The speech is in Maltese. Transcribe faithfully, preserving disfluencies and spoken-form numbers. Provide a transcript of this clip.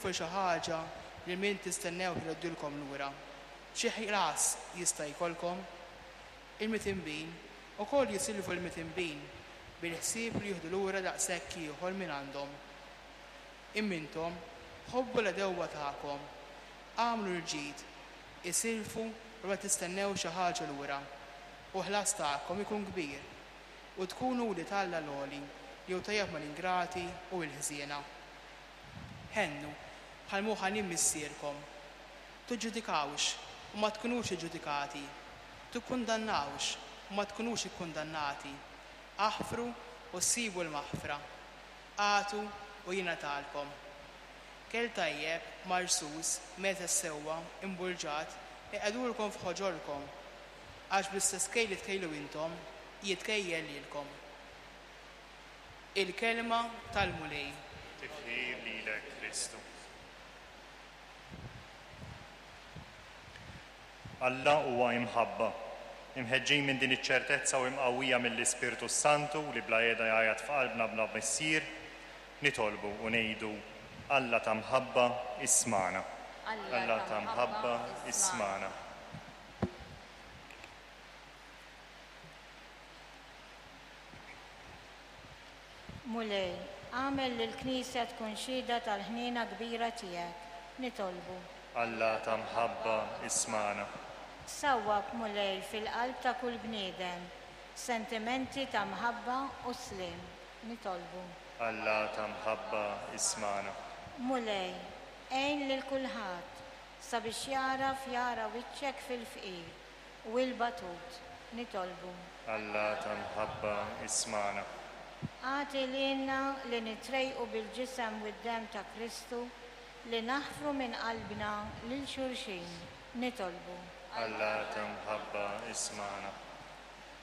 Xi ħaġa lil min tistennew jroddilkom lura? Xi ħlas jista' jkollkom? Il-midinbin ukoll jisilfu l-midinbin bil-ħsieb li jieħdu lura daqshekk ieħor minn għandhom. Imma intom ħobbu l-għedewwa tagħkom, agħmlu l-ġid, isilfu u ma tistennew xi ħaġa lura, u ħlas tagħkom ikun kbir, u tkunu wlied Alla l-għoli li hu tajjeb mal-ingrati u l-ħżiena. Ħennu bħalma hu ħanin missierkom. Tiġġudikawx u ma tkunux iġġudikati. Tikkundannawx u ma tkunux ikkundannati. Aħfru u ssibu l-maħfra. Agħtu u jingħatalkom. Kejl tajjeb, marsus, meżen sewwa, imbulġat, iqegħdulkom f'ħoġorkom. Għax bl-istess kejl li tkejlu intom, jitkejjel lilkom. Il-kelma tal-Mulej. Tifħir lilek Kristu. Alla huwa imħabba. Imħeġġin minn din iċ-ċertezza u imqawwija mill-Ispirtu Santu li bla heda jgħajjat f'qalbna bla missier, nitolbu u ngħidu Alla ta' mħabba ismagħna. Alla ta' mħabba ismagħna. Mulej, agħmel li l-Knisja tkun xhieda tal-ħniena kbira tiegħek. Nitolbu. Alla ta' mħabba ismagħna. Sawwab, Mulej, fil-qalb ta' kull bniedem sentimenti ta' mħabba u sliem. Nitolbu. Alla ta' mħabba ismagħna. Mulej, għin lil kulħadd sabiex jagħraf jara wiċċek fil-fqir u l-batut. Nitolbu. Alla ta' mħabba ismagħna. Agħti lilna li nitrejqu bil-ġisem u d-demm ta' Kristu li naħfru minn qalbna lil xulxin. Nitolbu. Alla ta' mħabba ismagħna.